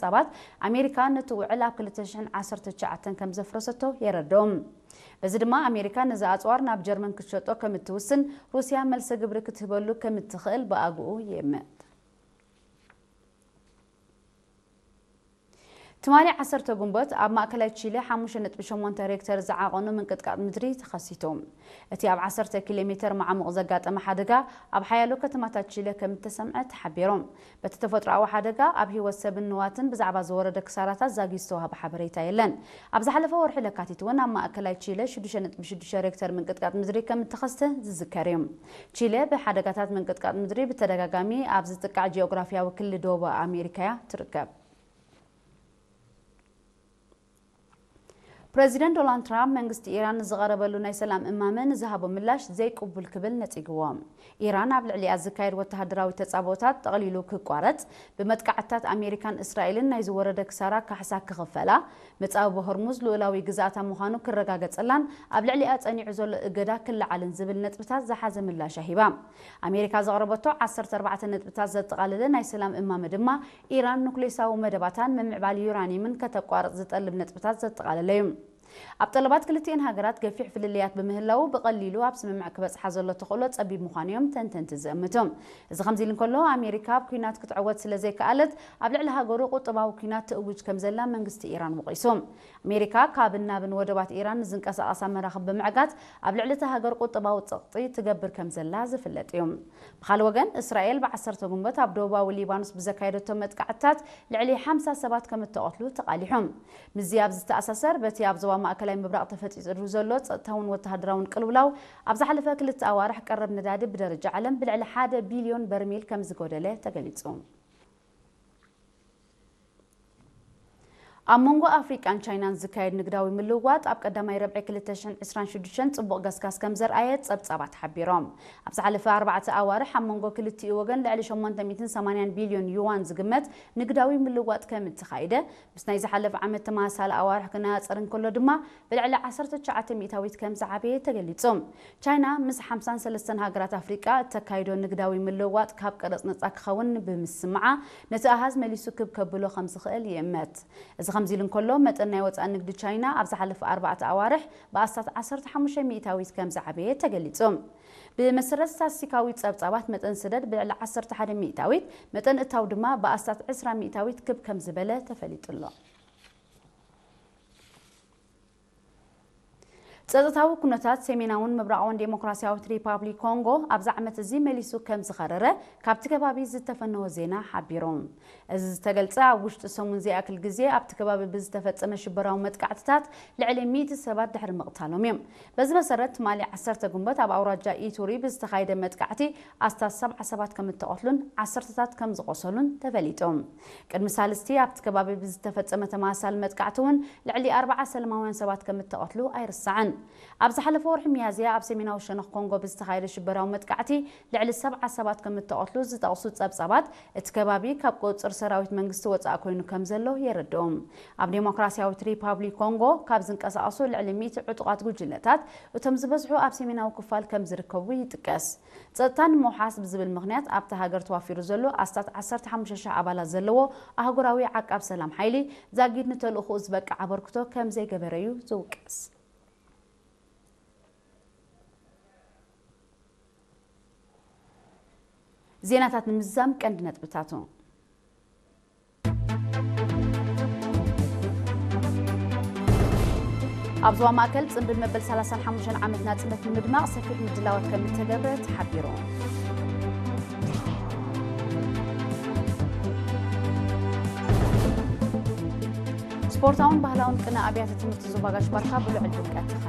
ጸብጻባት፣ ኣሜሪካ ነቲ ውዕል ኣብ ክልተ ሽሕን ዓሰርተ ትሽዓተን ከም ዘፍረሰቶ የረድኦም። በዚ ድማ ኣሜሪካ ነዚ ኣጽዋር ናብ ጀርመን ክትሸጦ ከም እትውስን፣ ሩስያ መልሰ ግብሪ ክትህበሉ ከም እትኽእል ብኣግኡ ይእምት። ትማሊ ዓሰርተ ጉንበት ኣብ ማእከላይ ቺለ ሓሙሽተ ነጥቢ ሸሞንተ ሬክተር ዝዓቐኑ ምንቅጥቃጥ ምድሪ ተኸሲቱ። እቲ ኣብ ዓሰርተ ኪሎ ሜተር መዓሙቕ ዘጋጠመ ሓደጋ ኣብ ሓያሎ ከተማታት ቺለ ከም እተሰምዐ ተሓቢሩ። በቲ ተፈጥሮኣዊ ሓደጋ ኣብ ህይወት ሰብን ንዋትን ብዛዕባ ዝወረደ ክሳራታት ዛጊድ ዝተዋህበ ሓበሬታ የለን። ኣብ ዝሓለፈ ወርሒ ለካቲት እውን ኣብ ማእከላይ ቺለ ሽዱሽተ ነጥቢ ሽዱሽተ ሬክተር ምንቅጥቃጥ ምድሪ ከም እተኸስተ ዝዝከር እዩ። ቺለ ብሓደጋታት ምንቅጥቃጥ ምድሪ ብተደጋጋሚ ኣብ ዝጥቃዕ ጂኦግራፊያዊ ክሊ ደቡብ ኣሜሪካ እያ ትርከብ። ፕረዚደንት ዶናልድ ትራምፕ መንግስቲ ኢራን ንዝቐረበሉ ናይ ሰላም እማመ ንዝሃቦ ምላሽ ዘይቅቡል ክብል ነጺግዎ። ኢራን ኣብ ልዕሊኣ ዝካየድ ወተሃደራዊ ተጻብኦታት ጠቕሊሉ ክቋረጽ፣ ብመጥቃዕትታት ኣሜሪካን እስራኤልን ናይ ዝወረደ ክሳራ ካሕሳ ክኽፈላ፣ መጻብቦ ሆርሙዝ ልኡላዊ ግዝኣታ ምዃኑ ክረጋገጸላን ኣብ ልዕሊኣ ጸኒዑ ዘሎ እገዳ ክለዓልን ዝብል ነጥብታት ዝሓዘ ምላሽ ሂባ። ኣሜሪካ ዘቕረበቶ ዓሰርተ ኣርባዕተ ነጥብታት ዘጠቓለለ ናይ ሰላም እማመ ድማ ኢራን ኑክሌሳዊ መደባታን ምምዕባል ዩራኒየምን ከተቋርጽ ዝጠልብ ነጥብታት ዘጠቓለለ እዩ። ኣብ ጠለባት ክልቲኤን ሃገራት ገፊሕ ፍልልያት ብምህላዉ ብቐሊሉ ኣብ ስምምዕ ክበጽሓ ዘሎ ተኽእሎ ጸቢብ ምዃኑ እዮም ተንተንቲ ዝእምቱ። እዚ ከምዚ ኢሉ እንከሎ ኣሜሪካ ኣብ ኲናት ክትዕወት ስለ ዘይከኣለት ኣብ ልዕሊ ሃገሩ ቁጠባዊ ኲናት ትእውጅ ከም ዘላ መንግስቲ ኢራን ወቒሱ። ኣሜሪካ ካብን ናብን ወደባት ኢራን ንዝንቀሳቐሳ መራኽብ ብምዕጋት ኣብ ልዕሊ እታ ሃገር ቁጠባዊ ጸቕጢ ትገብር ከም ዘላ ዝፍለጥ እዩ። ብኻልእ ወገን እስራኤል ብዓሰርተ ጉንበት ኣብ ደቡባዊ ሊባኖስ ብዘካየደቶ መጥቃዕትታት ልዕሊ ሓምሳ ሰባት ከም እተቐትሉ ተቓሊሑ። ምስዚ ኣብ ዝተኣሳሰር በቲ ኣብ ዞባ ማእከላይ ምብራቕ ተፈጢሩ ዘሎ ጸጥታውን ወተሃደራውን ቅልውላው ኣብ ዝሓለፈ ክልተ ኣዋርሕ ቀረብ ነዳዲ ብደረጃ ዓለም ብልዕሊ ሓደ ቢልዮን በርሚል ከም ዝጎደለ ተገሊጹ። ኣብ መንጎ ኣፍሪቃን ቻይናን ዝካየድ ንግዳዊ ምልውዋጥ ኣብ ቀዳማይ ረብዒ ክልተ ሽሕን ዕስራን ሽዱሽተን ጽቡቕ ገስጋስ ከም ዘርኣየ ጸብጻባት ሓቢሮም። ኣብ ዝሓለፈ ኣርባዕተ ኣዋርሕ ኣብ መንጎ ክልቲኡ ወገን ልዕሊ ሸሞንተ ሚእትን ሰማንያን ቢልዮን ዩዋን ዝግመት ንግዳዊ ምልውዋጥ ከም እተኻይደ፣ ምስ ናይ ዝሓለፈ ዓመት ተመሳሳሊ ኣዋርሕ ክነጻጸር እንከሎ ድማ ብልዕሊ ዓሰርተ ትሽዓተ ሚእታዊት ከም ዝዓበየ ተገሊጹ። ቻይና ምስ ሓምሳን ሰለስተን ሃገራት ኣፍሪቃ እተካይዶ ንግዳዊ ምልውዋጥ ካብ ቀረጽ ነጻ ክኸውን ብምስምዓ፣ ነቲ ኣሃዝ መሊሱ ክብ ከብሎ ከም ዝኽእል ይእመት። እዚ ከምዚ ኢሉ እንከሎ፣ መጠን ናይ ወጻኢ ንግዲ ቻይና ኣብ ዝሓለፈ ኣርባዕተ ኣዋርሕ ብኣስታት ዓሰርተ ሓሙሽተ ሚእታዊት ከም ዝዓበየ ተገሊጹ። ብመሰረት ስታትስቲካዊ ጸብጻባት፣ መጠን ስደድ ብልዕሊ ዓሰርተ ሓደ ሚእታዊት፣ መጠን እታው ድማ ብኣስታት ዕስራ ሚእታዊት ክብ ከም ዝበለ ተፈሊጡ ኣሎ። ጸጥታዊ ኩነታት ሰሜናውን ምብራቓውን ዴሞክራሲያዊት ሪፓብሊክ ኮንጎ ኣብዚ ዓመት እዚ መሊሱ ከም ዝኸረረ ካብቲ ከባቢ ዝተፈነወ ዜና ሓቢሩ። እዚ ዝተገልጸ ኣብ ውሽጢ ሰሙን ዘይኣክል ግዜ ኣብቲ ከባቢ ብዝተፈጸመ ሽበራዊ መጥቃዕትታት ልዕሊ ሚእቲ ሰባት ድሕሪ ምቕታሎም እዩ። በዚ መሰረት ትማሊ ዓሰርተ ጉንበት ኣብ ኣውራጃ ኢቱሪ ብዝተኻየደ መጥቃዕቲ ኣስታት ሰብዓ ሰባት ከም እተቐትሉን ዓሰርተታት ከም ዝቖሰሉን ተፈሊጡ። ቅድሚ ሳልስቲ ኣብቲ ከባቢ ብዝተፈጸመ ተመሳሳሊ መጥቃዕቲ እውን ልዕሊ ኣርባዓ ሰላማውያን ሰባት ከም እተቐትሉ ኣይርሳዕን። ኣብ ዝሓለፈ ወርሒ ሚያዝያ ኣብ ሰሜናዊ ሸነኽ ኮንጎ ብዝተኻየደ ሽበራዊ መጥቃዕቲ ልዕሊ ሰብዓ ሰባት ከም እተቐትሉ ዝጠቕሱ ጸብጻባት፣ እቲ ከባቢ ካብ ቁጽጽር ሰራዊት መንግስቲ ወጻኢ ኮይኑ ከም ዘሎ የረድኡ። ኣብ ዴሞክራሲያዊት ሪፓብሊክ ኮንጎ ካብ ዝንቀሳቐሱ ልዕሊ ሚእቲ ዕጡቓት ጉጅለታት፣ እቶም ዝበዝሑ ኣብ ሰሜናዊ ክፋል ከም ዝርከቡ ይጥቀስ። ጸጥታ ንምውሓስ ብዝብል ምኽንያት ኣብታ ሃገር ተዋፊሩ ዘሎ ኣስታት ዓሰርተ ሓሙሽተ ሽሕ ኣባላት ዘለዎ ኣህጉራዊ ዓቃብ ሰላም ሓይሊ ዛጊድ ንተልእኾኡ ዝበቅዕ ኣበርክቶ ከም ዘይገበረ እዩ ዝውቀስ። ዜናታት ንምዝዛም ቀንዲ ነጥብታቱ። ኣብ ዞባ ማእከል ጽምብል መበል ሰላሳን ሓሙሽተን ዓመት ናጽነት ንምድማቕ ሰፊሕ ምድላዋት ከም እተገብረ ተሓቢሩ። ስፖርታውን ባህላውን ቅነ ኣብያተ ትምህርቲ ዞባ ጋሽ ባርካ ብልዑል ድምቀት ተኻይዱ።